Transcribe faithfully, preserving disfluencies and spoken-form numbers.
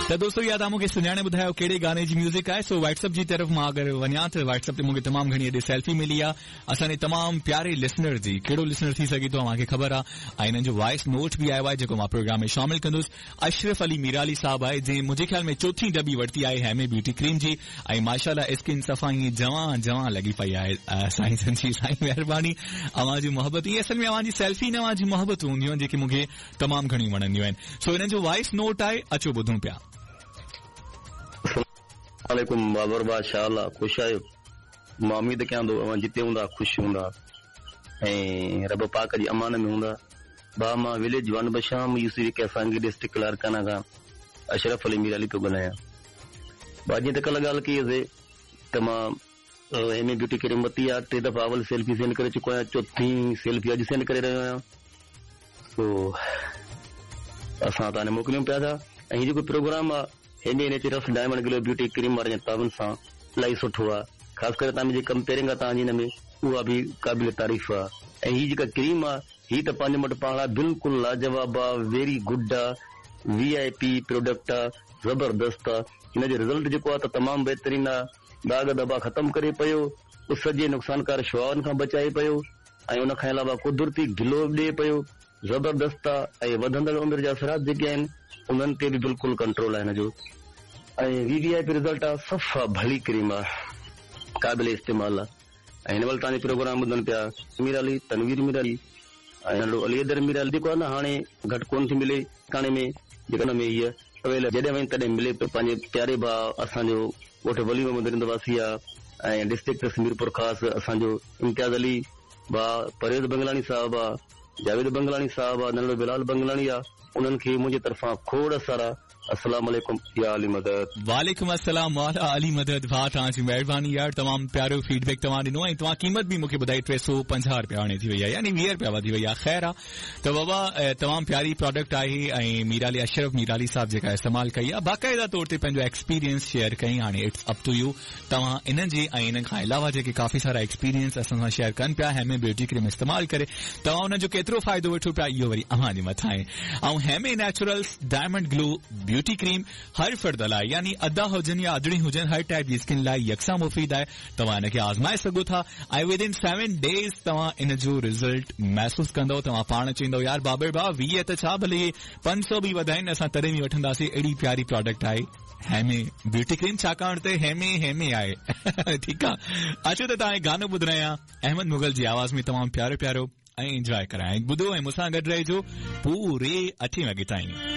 त दोस्तो इहा तव्हां मूंखे सुञाणे ॿुधायो कहिड़े गाने जी म्यूज़िक आहे। सो व्हाट्सएप जी तरफ़ मां अगरि वञा त व्हाट्सएप ते मूंखे तमामु घणी हेॾे सेल्फी मिली आहे असांजे तमामु प्यारे लिसनर जी। कहिड़ो लिसनर थी सघे थो तव्हांखे ख़बर आहे ऐं हिननि जो वॉइस नोट बि आयो आहे जेको मां प्रोग्राम में शामिल कंदुसि। अशरफ अली मीराली साहब आहे जंहिं मुंहिंजे ख़्याल में चोथी डबी वरिती आहे हेमे ब्यूटी क्रीम जी ऐं माशाअल्लाह स्किन सफ़ा ईअं जवां जवां लॻी पई आहे। साईं जी साईं महिरबानी, अव्हां जी मोहबत ईअं असल में अव्हां जी सेल्फी न अव्हां जी मोहबत हूंदियूं आहिनि जेके मूंखे तमामु घणियूं वणंदियूं आहिनि। सो हिननि जो वॉइस नोट आहे, अचो ॿुधूं पिया। वालेकुम बाबर बादशाह, अल्लाह ख़ुशि आहियो? मां उम्मीद कयां थो अव्हां जिते हूंदा ख़ुशि हूंदा ऐं रब पाक जी अमान में हूंदा। भाउ मां विलेज वन बशाम यूसी कैसांगी डिस्ट्रिक्ट लाड़काना खां अशरफ अली मीराली पियो ॻाल्हायां। भाउ जीअं त कल्ह ॻाल्हि कई हुजे त मां हेमे ब्यूटी क्रीम वरिती आहे, टे दफ़ा अवल सेल्फी सेंड करे चुको आहियां, चोथी सेल्फी अॼु सेंड करे रहियो आहियां। सो असां तव्हां मोकिलियूं पिया था। ऐं हीउ जेको प्रोग्राम आहे Heme naturals diamond glow beauty cream वारे तावन सां इलाही सुठो आहे। ख़ासि करे तव्हां जेकी कंपेयरिंग आहे तव्हांजी हिन में उहा बि क़ाबिल तारीफ़ आहे। ऐं हीअ जेका क्रीम आहे हीअ त पंहिंजे मटि पाण आहे, बिल्कुलु लाजवाब आहे, वेरी गुड आहे, वी I P product आहे, ज़बरदस्त आहे। हिन जो रिज़ल्ट जेको आहे त तमामु बहितरीनु आहे। दाग़ दॿा ख़तमु करे पियो, उस जे नुक़सानकार शुआउनि खां बचाए पियो ऐं उन खां अलावा कुदरती ग्लो बि ॾिए पियो, ज़बरदस्त आहे। ऐं वधंदड़ उमिरि जा असरात जेके आहिनि उन्हनि ते बि बिल्कुलु कंट्रोल आहे हिन जो। ऐं we V I P result आहे, सफ़ा भली क्रीम आहे, क़ाबिल इस्तेमाल आहे। ऐं हिन महिल तव्हांजो प्रोग्राम ॿुधनि पिया मीर अली, तनवीर मीर अली ऐं नंढो अली अदर मीर अली जेको आहे न हाणे घटि कोन थी मिले ठाणे में, जेका हुन में हीअ अवेल जॾहिं वञ तॾहिं मिले पियो। पंहिंजे प्यारे भाउ असांजो ॻोठ वली मोहम्मद रिंद वासी आहे ऐं डिस्ट्रिक्ट मीरपुर ख़ास असांजो इम्तियाज़ अली भाउ, परवेज़ बंगलानी साहिबु आहे, जावेद बंगलानी साहिबु आहे, नंढो बिलाल बंगलानी आहे, उन्हनि खे मुंहिंजी तरफ़ां खोड़ सारा अस्सलाम वालेकुम या अली मदद। वालेकुम अस्सलाम मौला अली मदद। भाउ तव्हांजी महिरबानी यार, तमामु प्यारो फीडबैक तव्हां ॾिनो ऐं तव्हां क़ीमत बि मूंखे ॿुधाई टे सौ पंजाह रुपया हाणे थी वई आहे, यानी वीह रुपया वधी वई आहे। ख़ैर आहे त बाबा तमामु प्यारी प्रोडक्ट आहे ऐं मीराली अशरफ मीराली साहिब जेका इस्तेमालु कई आहे बाक़ाइदा तौर ते पंहिंजो एक्सपीरियंस शेयर कई। हाणे it's up to you, तव्हां इन्हनि जे ऐं इन्हनि खां अलावा जेके काफ़ी सारा एक्सपीरियंस असां सां शेयर कनि पिया हेमे ब्यूटी क्रीम इस्तेमालु करे तव्हां हुनजो केतिरो फ़ाइदो वठो पिया इहो वरी अव्हां जे मथां आहे। ऐं Heme naturals diamond glow beauty cream हर फर्द लाइ यानी अदा हुजनि या अदड़ी हुजनि हर टाइप जी स्किन लाइ यकसां मुफ़ीद आहे। तव्हां हिनखे आज़माए सघो था ऐं विद इन सेवन डेज़ तव्हां इन जो रिज़ल्ट महसूसु कंदव। तव्हां पाण चवंदव यार बाबर भाउ वीह त छा भले पंज सौ बि वधाइनि असां तॾहिं बि वठंदासीं, अहिड़ी प्यारी प्रोडक्ट आहे हेमे ब्यूटी क्रीम, छाकाणि त हेमे हेमे आहे। ठीकु आहे, अचो त तव्हां गानो ॿुधायां अहमद मुग़ल जी आवाज़ में, तमामु प्यारो प्यारो ऐं इंजॉय करायां। ॿुधो ऐं मूंसां गॾु रहिजो पूरे अठे वॻे ताईं।